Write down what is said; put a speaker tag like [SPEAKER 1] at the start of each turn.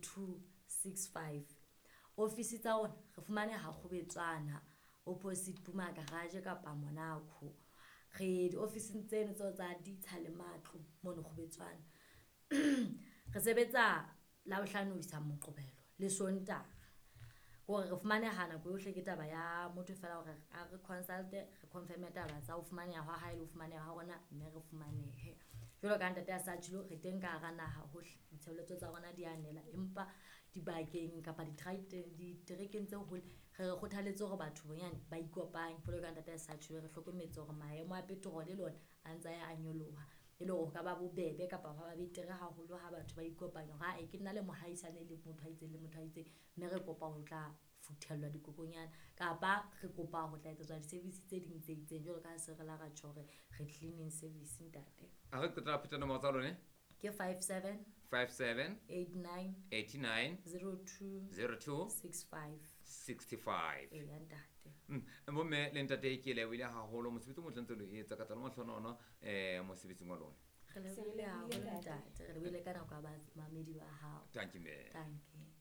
[SPEAKER 1] 02 65. Ofisi tsa rona re fumaneha Kgobetswana opposite Puma Garage kapa Monaco. Re diofising tseno tseo tsa ditsha le matlo mono Kgobetswana. Re sebetsa Labohlano ho isa Moqebelo le Sontaha. Kore re fumaneha nako yohle, ke taba ya motho fela hore a re consulte, re confirme taba tsa ho fumaneha hwa hae le ho fumaneha ha rona, mme re fumanehe. Jwalo ka ntate a sa tjholo, re teng ka hara naha hohle, ditshebeletso tsa rona di a nela, empa dibakeng kapa diterekeng tse hole re re kgothaletse hore batho bonyane ba ikopanye. Jwalo ka ntate a sa tjholo, re hlokometse hore maemo a petrol le ona a ntse a ya a nyoloha, e le hore ho ka ba bobebe kapa hwa ba betere haholo ha batho ba ikopanya hore ae ke nna le mohaisane le motho a itseng le motho a itseng, mme re kopa ho tla futhellwa dikokonyana kapa re kopa ho tla etsetswa di-service tse ding tse itseng, jwalo ka ha se re la ra tjho hore re cleaning service ntate.
[SPEAKER 2] A re qetela pheta nomoro tsa lone.
[SPEAKER 1] Ke 57
[SPEAKER 2] 57
[SPEAKER 1] 89
[SPEAKER 2] 89
[SPEAKER 1] 02
[SPEAKER 2] 02
[SPEAKER 1] 65.
[SPEAKER 2] 65.
[SPEAKER 1] Eya ntate.
[SPEAKER 2] Bomme le ntate, ke lebohile haholo mosebetsi o motle ntse lo etsa ka tsala mahlonono mosebetsing wa lona.
[SPEAKER 1] Re lebohile haholo ntate, re lebohile ka nako ya bamamedi ba hao.
[SPEAKER 2] Thank you, mme.
[SPEAKER 1] Dankie.